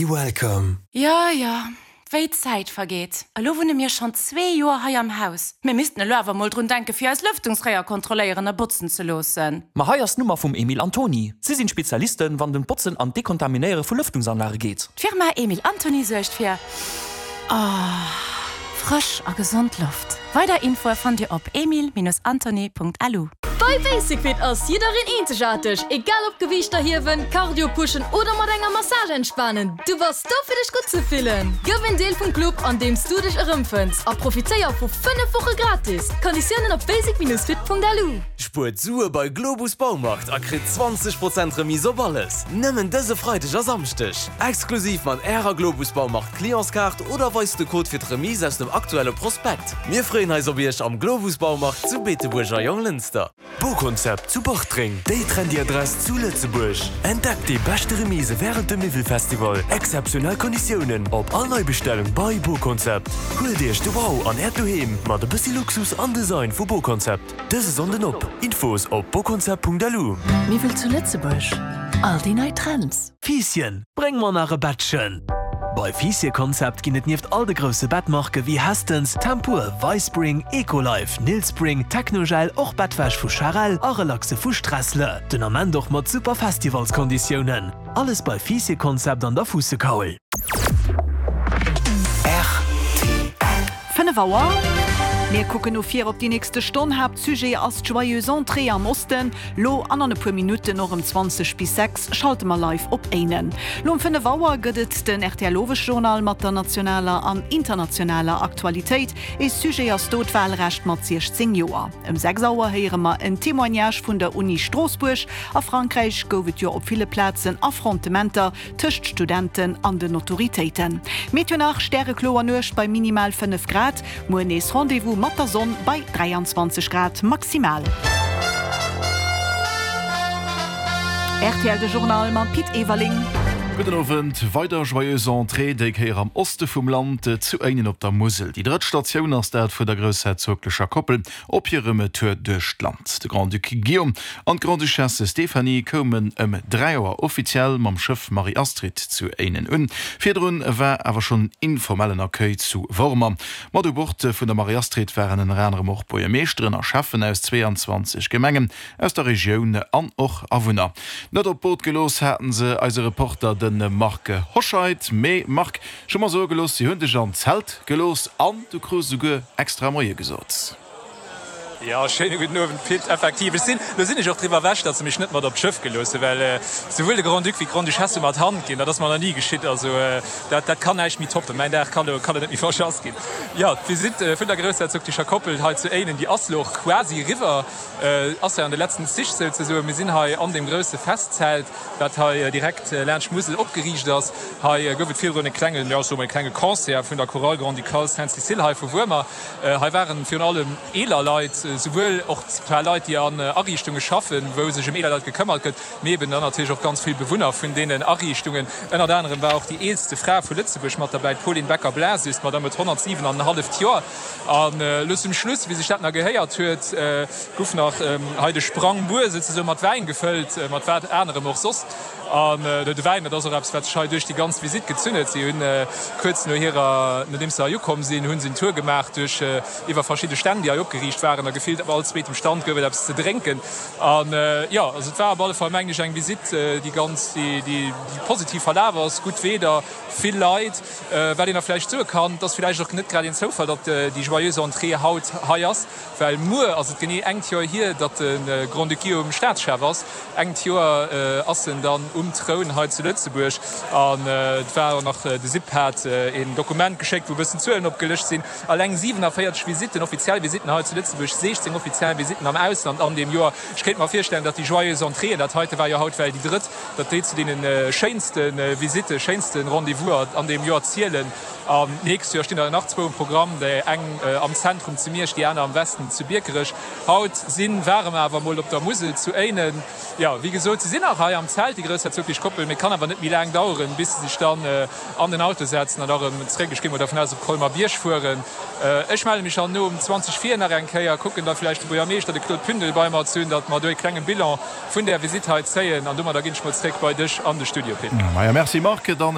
Be welcome. Jo, jo, wéi d'Zäit vergeet. Elo wunne mir schonn zwee Joer hei am Haus. Mir missten elo awer mol drun denken, fir eis Lëftungsréier kontrolléieren a botzen ze loossen. Ma hei ass d'Nummer vum Emil Antony. Si sinn d'Spezialisten, wann et ëm d'Botzen an d'Dekontaminéiere vu Lëftungsanlage geet. D'Firma Emil Antony suergt fir frësch a gesond Loft. Weider Infoe fannt Dir op emil-antony.lu. Bei Basic-Fit ass jiddereen eenzegaarteg, egal ob Gewiichter hiewen, Cardio pushen oder mat enger Massage entspanen, du bass do fir dech gutt ze fillen! Gëff en Deel vum Club an deems du dech erëmfënns a profitéier vu 5 Woche gratis! Konditiounen op basic-fit.lu. Spuert Sue bei Globus Baumarkt a kritt 20 Prozent Remise op alles! Nëmmen dëse Freideg a Samschdeg! Exklusiv mat Ärer Globus Baumarkt Clientskaart oder weist de Code fir d'Remise aus dem aktuelle Prospekt. Mir freeën eis op Iech am Globus Baumarkt zu Beetebuerg a Jonglënster. Boconcept zu Bartreng, déi trendy Adress zu Lëtzebuerg. Entdeckt déi beschte Remise wärend dem Miwwelfestival. Exzeptionell Konditiounen op all Neibestellung bei Boconcept. Huelt Iech de Wow an Äert Doheem mat e bëssi Luxus an Design vu Boconcept. Dëse Sonnden op! Infos op boconcept.lu. Miwwel zu Lëtzebuerg, all déi nei Trends. Fiisschen, bréng mer nach e Bettchen! Bei Fiissieconcept ginn et nieft all de grousse Bettmarke wéi Hästens, Tempur, Vispring, Ecolife, Nilspring, Technogel och Bettwäsch vu Charel a Relaxe vu Stressle. Den Ament och mat super Festivalskonditiounen. Alles bei Fiissieconcept an der Fuussekaul. 5 Auer. Mir kucken no vir op déi nächste Stonn. Haaptsujet ass d'Joyeuse Entrée am Osten. Lo an an e puer Minutten, och ëm 20 bis 6, schalte mer live op Éinen. Lo um 5 Auer gëtt et den rtl Owesjournal mat der nationaler an internationaler Aktualitéit. Ee Sujet ass do d'Wahlrecht mat 16 Joer. Ëm 6 Auer héiere mer en Témoignage vun der Uni Stroossbuerg. A Frankräich gouf et jo op ville Plazen Affrontementer tëscht Studenten an den Autoritéiten. Meteo nach, Stärekloer Nuecht bei minimal 5 Grad, muer nees Rendez-vous mat der Sonn bei 23 Grad maximal. Rtl de Journal mam Pit Everling. Gudden Owend. Weider Joyeuse Entrée, déi Kéier am Oste vum Land, zu Éinen op der Musel. Déi drëtt Statioun ass dat vun der groussherzoglecher Koppel Op hirem Tour duerch d'Land. De Grand-Duc Guillaume an d'Grande-Duchesse Stéphanie koumen ëm 3 Auer offiziell mam Schëff Marie-Astrid zu Éinen un. Virdrun war awer schonn en informellen Accueil zu Wormer. Mat u Bord vun der Marie-Astrid waren ënner anerem och Buergermeeschteren a Schäffen aus 22 Gemengen aus der Regioun an och Awunner. Net op d'Boot gelooss haten se eise Reporter de Marc Hoscheid. Mee Marc, Ech hu mer soe gelooss, si hunn dech an d'Zelt gelooss an du krus esouguer extra Moie gesot. Jo, schéine gudden Owend Pit. Effektiv, ech sinn, lo sinn ech och driwwer ewech, datt se mech net mat op d'Schëff gelooss hunn, well souwuel de Grand-Duc wéi d'Grande-Duchesse hu mer d'Hand ginn. Dat ass mer nach ni geschitt. Also dat, dat kann näischt méi toppen. Mäin Dag kann elo, kann elo net méi verschass ginn. Jo, d'Visitt vun der groussherzoglecher Koppel hei zu Éinen, déi ass lo och quasi eriwwer, ass jo an de letzten Zich souzesoen. Mir sinn hei an deem grousse Festzelt. wat hei direkt laanscht d'Musel opgeriicht ass. Hei gouf et virdrun e klengen, jo ech soe mol e klenge Concert vun der Chorale Grand-Ducale Sainte-Cécile hei vu Wuermer. Hei waren virun allem eeler Leit, souwuel och zwar Leit déi an Ariichtunge schaffen, wou sech ëm eeler Leit gekëmmert gëtt, mee eben dann natierlech och ganz vill Bewunner vun deenen Ariichtungen. Ënnert anerem war och déi eelste Fra vu Lëtzebuerg mat derbäi, d'Pauline Becker-Blasius, d'Madame huet 107 an en halleft Joer. An elo zum Schluss, wéi sech dat nach gehéiert huet, guff nach hei de Sprangbuer souzesoen mat Wäin gefëllt, mat wat anerem och soss. An de Wäin, dat ass och eppes, wat sech hei duerch déi ganz Visitt gezunn huet. Si hunn kuerz no hirer, nodeems se hei ukomm sinn, hunn se en Tour gemaach duerch iwwer verschidde Stänn, déi hei opgeriicht waren. A gefillt op all zweetem Stand gouf et eppes ze drénken. An jo, also et war op alle Fall, mengen ech, eng Visitt, déi ganz, déi positiv verlaf ass. Gutt Wieder, vill Leit. Wat een nach vläicht soe kann, et ass vläicht och net grad een Zoufall, datt déi Joyeuse Entrée haut hei ass, well muer ass et genee engt Joer hier, datt de Grand-Duc Guillaume Staatschef ass. Engt Joer ass en dann um Troun hei zu Lëtzebuerg. An et war och nach, de SIP hat een Dokument geschéckt, wou e bëssen Zuelen opgelëscht sinn. Alleng 47 Visitten, offiziell Visitten hei zu Lëtzebuerg, 16 offiziell Visitten am Ausland an deem Joer. Ech kéint mer virstellen, datt déi Joyeuse Entrée, dat heite war jo haut well déi drëtt, datt déi zu deene schéinste Visitten, schéinste Rendez-vouser an deem Joer zielen. An d'nächst Joer stinn der nach zwou um Programm, déi eng am Zentrum zu Miersch, déi aner am Westen zu Biekerech. Haut si ware mer awer mol op der Musel zu Éinen. Jo, wéi gesot, se sinn nach hei am Zelt, déi groussherzoglech Koppel, mee et kann awer net méi laang daueren, bis se sech dann an den Auto setzen an da erëm zréck, ech gi mol dervun aus, op Colmer-Bierg fueren. Ech melle mech dann no um 20 vir nach eng Kéier, kucken da vläicht de Buergermeeschter, de Claude Pündel, bei mer ze hunn, datt mer do e klenge Bilan vun där Visitt hei zéien. An domadder ginn ech mol zréck bei dech an de Studio, Pit. Maja, merci Marc. Dann.